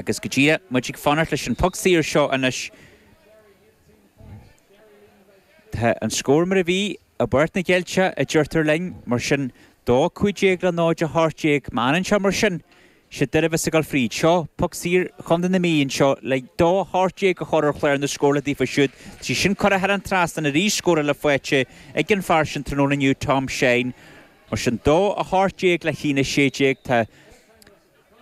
Agus go díreach, muid ag fanacht leis an poc saor seo anois. Tá an scór mar a bhí i bPáirc na gCeilteach, a deirtear linn, mar sin 2, 15 le 0, 18. Má fhanann sé mar sin, siad Doire a bheas ag dul fríd. Seo poc saor Chontae na Mí anseo le 2, 18 a chur ar chlár na scórála daofa siúd. Tá sí sin curtha thar an trasnán arís, scór eile faighte ag an fear sin tráthnóna inniu, Tom Shine. Mar sin 2, 18 le 1, 16. Tá.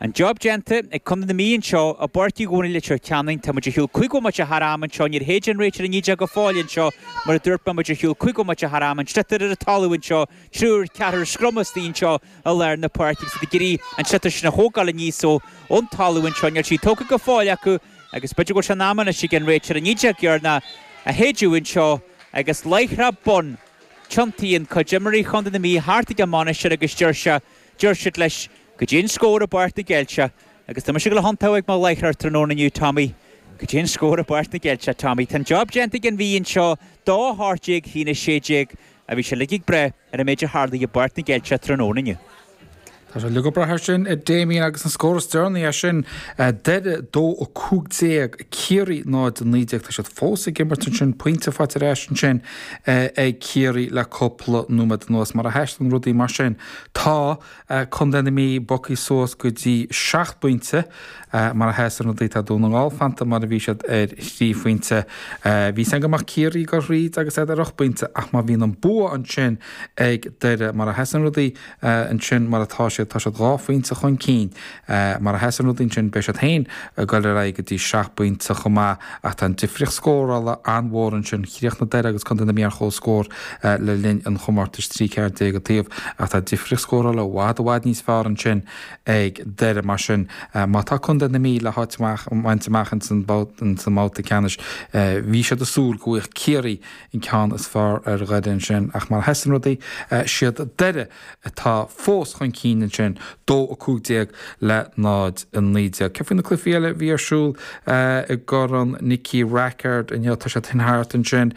An job déanta ag Contae na Mí anseo i bPáirc Uí Dhónaill i Leitir Ceanainn. Tá muid ar shiúl 5 bhomaite thar am anseo. Níor shéid an réiteoir 19 go fóill anseo. Mar a dúirt mé, muid ar shiúl 5 bhomaite thar am. An sliotar ar an talamh anseo. Triúr, ceathrar scrum istigh anseo i lár na páirce agus iad ag iarraidh an sliotar sin a thógáil aníos ón talamh anseo. Níl sí tógtha go fóill acu agus b'fhéidir go bhfuil sé in am anois ag an réiteoir 19 dheireanach a shéideadh anseo agus láithreach bonn tiontaíonn cuid d'imreoirí Chontae na Mí thart ag an mbainisteoir agus deir sé, deir siad leis, Goidé an scór i bPáirc na gCeilteach agus tá mise ag dul a thiontú ag mo láithreoir tráthnóna inniu, Tommy. Goidé an scór i bPáirc na gCeilteach, Tommy. Tá an job déanta ag an Mhí anseo, 2 18 1 16 a bhí sé uilig ag brath ar an méid a tharlaigh i bPáirc na gCeilteach tráthnóna inniu. Tá sé uilig ag brath air sin, a Damien, agus an scór is deireanaí é sin, Doire 2 15, Ciarraí 0 19. Tá siad fós ag imirt ansin, pointe faighte ar ais ansin ag Ciarraí le cúpla nóiméad anuas. Mar a sheasann rudaí mar sin, tá. Contae na Mí bogtha suas go dtí seacht bpointe. Mar a sheasann rudaí, tá Dún na nGall fanta mar a bhí siad ar thrí phointe. Bhí a fhios againn go mbeadh Ciarraí ag dul thríd agus iad ar ocht bpointe ach má bhíonn an bua ansin ag Doire, mar a sheasann rudaí ansin mar atá siad, tá siad dhá phointe chun cinn. Mar a sheasann rudaí ansin beidh siad féin ag dul ar aghaidh go dtí seacht bpointe chomh maith ach tá an difríocht scórála an-mhór ansin. Chríochnaigh Doire agus Contae na Mí ar comhscór le linn an chomórtais, 13 14 an taobh, ach tá difríocht scórála i bhfad i bhfad níos fearr ansin ag Doire. Mar sin, má tá Contae na Mí le háit a bhaint amach ins an mbabhta ceannais, bhí siad ag súil go bhfaigheadh Ciarraí an ceann is fearr ar Dhoire ansin ach mar a sheasann rudaí, siad Doire atá fós chun cinn ansin, 2, 15 le 0, 19. Céard faoi na cluichí eile a bhí ar siúl i gCorn Nicky Rackard inniu? Tá siad thart ansin,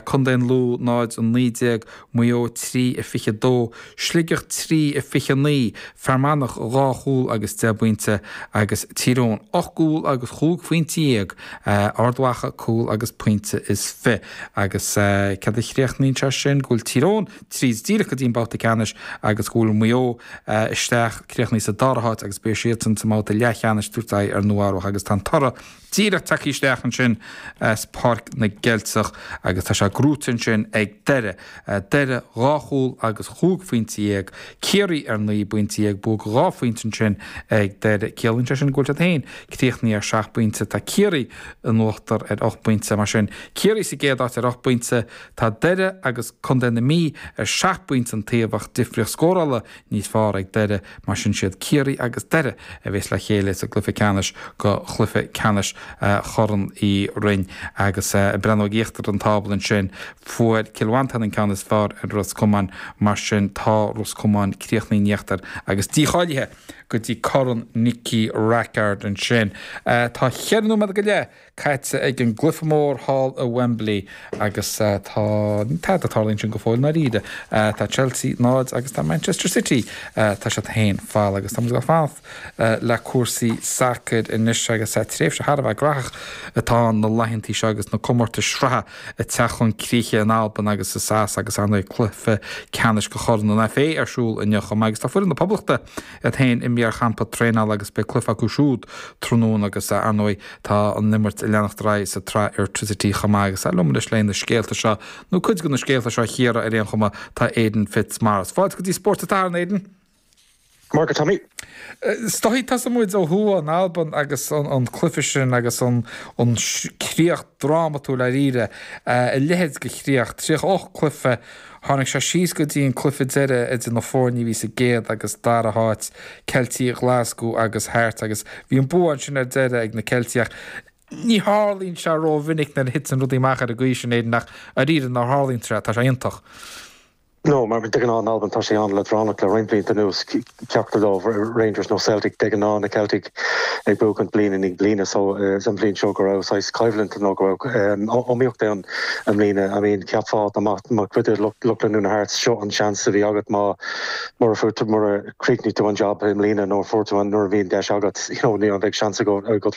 Contae an Lú 0, 19, Maigh Eo 3, 22, Sligeach 3, 29, Fear Manach 2 chúl agus 10 bpointe agus Tír Eoghain 8 gcúl agus chúig phointe dhéag, Ard Mhacha cúl agus pointe is fiche. Agus céard a chríochnaíonn sé sin? Go bhfuil Tír Eoghain tríd díreach go dtí an babhta ceannais agus go bhfuil Maigh Eo isteach, críochnaithe sa dara háit agus beidh siadsan sa mbabhta leathcheannais tabhairt aghaidh ar Nua Eabhrach agus tá an toradh díreach tagtha isteach ansin as Páirc na gCeilteach agus tá sé gnóite ansin ag Doire. Doire dhá chúl agus chúig phointe dhéag, Ciarraí ar naoi bpointe dhéag, bua dhá phointe ansin ag Doire. Ciallaíonn sé sin go bhfuil siad féin críochnaithe ar sheacht bpointe. Tá Ciarraí in uachtar ar ocht bpointe. Mar sin, Ciarraí sa gcéad áit ar ocht bpointe, Tá Doire agus Contae na Mí ar sheacht bpointe an taobh ach difríocht scórála níos fearr ag Doire, mar sin siad Ciarraí agus Doire a bheas le chéile sa gcluiche ceannais go chluiche ceannais Chorn Uí Rinn. Agus ag breathnú ag íochtar an tábla ansin, fuair Cill Mhantáin an ceann is fearr ar Ros Comáin, mar sin tá Ros Comáin críochnaithe in íochtar agus dícháilithe go dtí Corn Nicky Rackard ansin. Tá cheithre nóiméad go leith caite ag an gcluiche mór thall i Wembley agus tá tada ag tarlú ansin go fóill i ndáiríre. Tá Chelsea 0 agus tá Manchester City, tá siad 1 falla agus tá muid ag fanacht le cúrsaí sacair anois agus tréimhse thar a bheith graitheach atá ann na laethantaí seo agus na comórtais sraithe ag teacht chun críche in Albain agus i SAS agus ar ndóigh cluiche ceannais de Chorn an FA ar siúl inniu chomh maith agus tá foireann na Poblachta iad féin imithe ar champa traenála agus beidh cluiche acu siúd tráthnóna agus ar ndóigh tá an imirt ag leanacht ar aghaidh sa tsraith Airtricity chomh maith agus liom anois le na scéalta seo, nó cuid de na scéalta seo a chíoradh ar aon chuma, tá Aidan Fitzmaurice. Fáilte go dtí Spórt an tSathairn, Aidan. Maith agat Tommy. Is dóigh, tosóidh muid ó thuaidh in Albain agus an cluiche sin agus an críoch drámatúil dáiríre, a leithéid de chríoch, 38 cluiche, tháinig sé síos go dtí an cluiche deiridh idir na foirne a bhí sa gcéad agus dara háit, Ceiltigh Ghlaschú agus Hearts agus bhí an bua ansin ar deireadh ag na Ceiltigh ach ní tharlaíonn sé rómhinic nuair a thiteann rudaí amach ar an gcaoi sin, Aidan, ach dáiríre nuair a tharlaíonn sé, tá sé iontach. No, mar de ghnáth in Albain tá sé an-leadránach le roinnt blianta anuas, ceachtar dóibh, Rangers nó Celtic, de ghnáth na Celtic ag buachaint bliain i ndiaidh bliana so an bhliain seo go raibh saghas coimhlint nó go raibh iomaíocht ann i mbliana. I mean cheapfá dá mbeadh mar chuid de lucht leanúna Hearts seo an seans a bhí agat má mura fuair tú mura chríochnaigh tú an job i mbliana nó fuair tú an nuair a bhí an deis agat you know ní an bheidh seans agat.